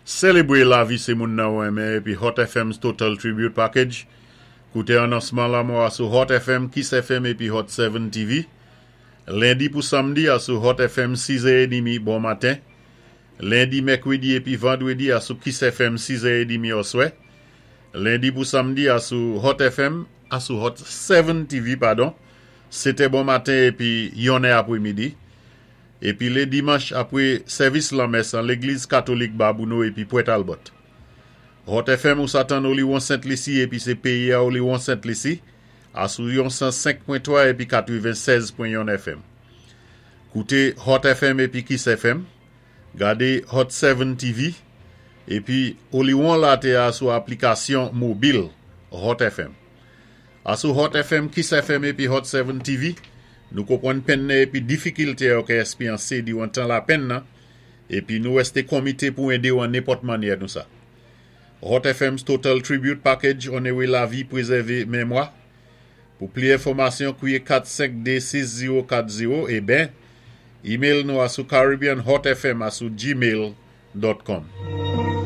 Sélébwé lavi sé moun nan ou renmen épi Hot FM's Total Tribute Package. Kouté anonsman lanmò a sou Hot FM, Kiss FM épi Hot 7 TV. Lendi pou samdi a sou Hot FM 6 è édmi bon maten. Lendi, mèkwédi épi vandwédi a sou Kiss FM 6 è édmi oswè. Lendi pou samdi a sou Hot FM, a sou Hot 7 TV, padon, 7 è bon maten épi 1 è apwémidi. Épi lé dimanch apwé sèvis lanmès an légliz katolik Babouno épi Pwè Talbot. Hot FM ou sa tann Oliwon Sent Lisi épi sé péyi a Oliwon Sent Lisi a sou yon 105.3 épi 96.1 FM. Kouté Hot FM épi Kiss FM, gadé Hot 7 TV épi Oliwon Laté a sou aplikasyon mobil Hot FM. A sou Hot FM, Kiss FM épi Hot 7 TV, nou konpwann penn nan épi difikilté yo ka èspéryansé diwan tan lapenn nan, épi nou wèsté konmité pou édé ou an nenpòt mannyè nou sa. Hot FM's Total Tribute Package onoré lavi pwézèvé mémwa. Pou pli enfòmasyon, kwiyé 452 6040 é ben, email nou a sou caribbeanhotfm a sou gmail.com.